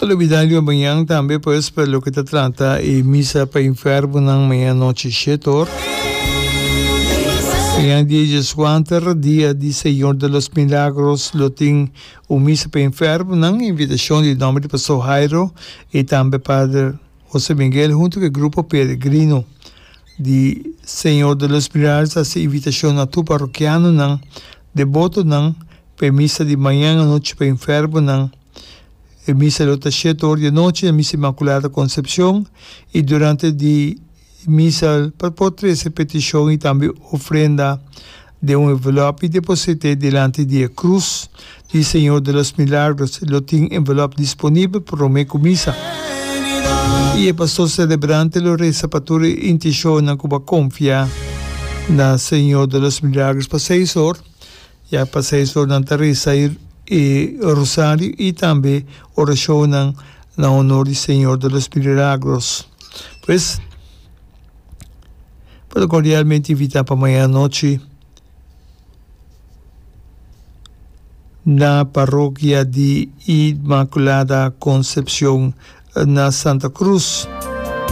Pa lubida riba mañan tambe pues pa loke ta trata e misa pa enfermonan mañan anochi shete or. Mañan dia dieskuater, dia di Señor de los Milagros lo tin un misa pa enfermonan, invitacion di nomber di Pastor Jairo y tambe Pader Jose Miguel hunto cu e grupo peregrino di Señor de los Milagros ta haci invitacion na tur parokianonan, debotonan pa e misa di mañan anochi pa enfermonan. E misa lo ta shete or di anochi na Misa Inmaculada Concepcion y durante di misa pa por trece peticion y tambe ofrenda den un envelop y deposite dilanti di e Cruz di Señor de los Milagros. Lo tin envelop disponibel prome cu misa. Y e pastor celebrante lo reza pa tur e intencionnan cu bo a confia na Señor de los Milagros pa seis or. Ya pa seis or nan ta resa e rosario y tambe oracionnan na honor di Señor de los Milagros. Pues, bo ta cordialmente invita pa mañana nochi na Parroquia di Inmaculada Concepcion na Santa Cruz.